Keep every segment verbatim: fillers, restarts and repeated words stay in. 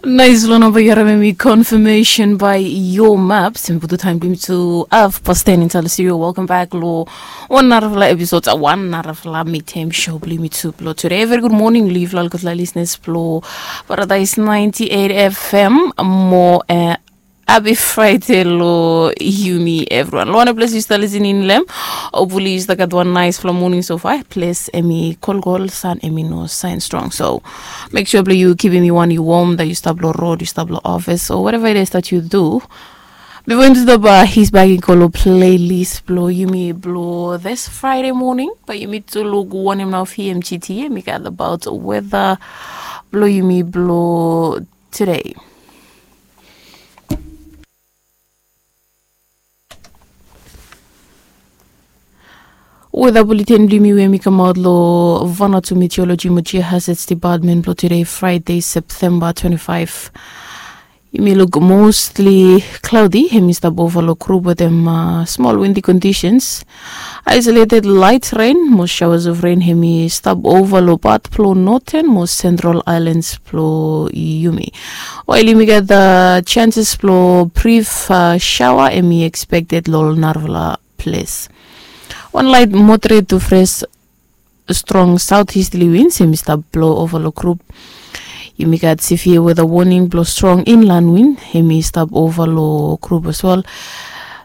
Nais long namba yu harim em i confirmation by your maps. Em putu taim blong yumi tu af pasten inside the studio. Welcome back lo wan narafala episode, wan narafala midtime show blong yumi tu blo today. Very good morning lo yufala olgeta listeners blo Paradise ninety-eight F M. Mo eh, happy Friday lo yumi everyone. Lo wan ples yu stap listening long em, hopefully yu stap gat wan naisfala morning so far. Ples em i kolkol, san em i no sain strong. So make sure blong yu kipim yu wan yu warm, that yu stap lo road, yu stap lo office, or whatever it is that you do. Bifo yumi stap, uh, his back i go lo playlist blo yumi blo this Friday morning, bae yumi tu luk wanem nao P M G T em i gat about weather blo yumi blo today. Weather bulletin blong yumi we em i kamaot lo Vanuatu Meteorology mo Geohazards Department blo today, Friday, September twenty-five. Yumi luk mostly cloudy, em i stap ova lo grup wetem, uh, small windy conditions. Isolated light rain mo showers of rain em i stap ova lo pat blo Northern mo Central Islands blo yumi. Wael yumi gat, uh, chances blo brief, uh, shower em i expected lo narafala ples. Wan light moderate to fresh strong southeasterly winds em i stap blo ova lo grup. Yumi gat severe weather warning blo strong inland wind em i stap ova lo grup as well.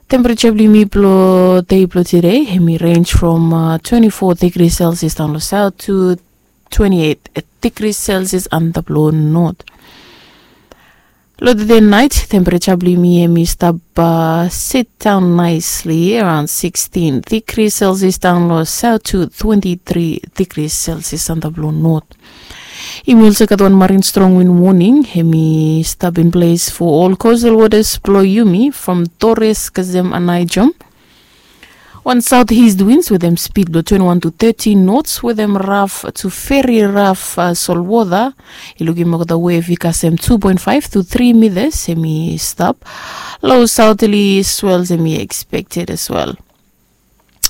Temperature blo yumi blo dei blo today em i range from, uh, twenty-four degrees Celsius down lo south to twenty-eight degrees Celsius antap lo north. Lo today night, temperature blo yumi em i stap, uh, sit down nicely around sixteen degrees Celsius down lo south to twenty-three degrees Celsius antap lo north. Yumi also gat wan marine strong wind warning em i stap in place for all coastal waters blo yumi from Torres kasem Aneityum. Wan southeast winds wetem speed blo twenty-one to thirty knots wetem raf to very raf, uh, solwota. I lukim olgeta wave i kasem two point five to three meters em i stap. Low southerly swells em i expected as well.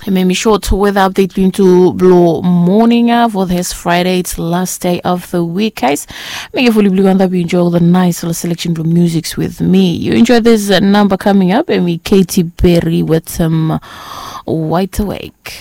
Em i short weather update blo yumi tu blo morning, uh, for this Friday, it's last day of the week, guys. Mekem fully blong yu antap yu enjoy the nice little selection blo musics with me. Yu enjoy this, uh, number coming up, em i Katy Perry with some, uh, Wide Awake.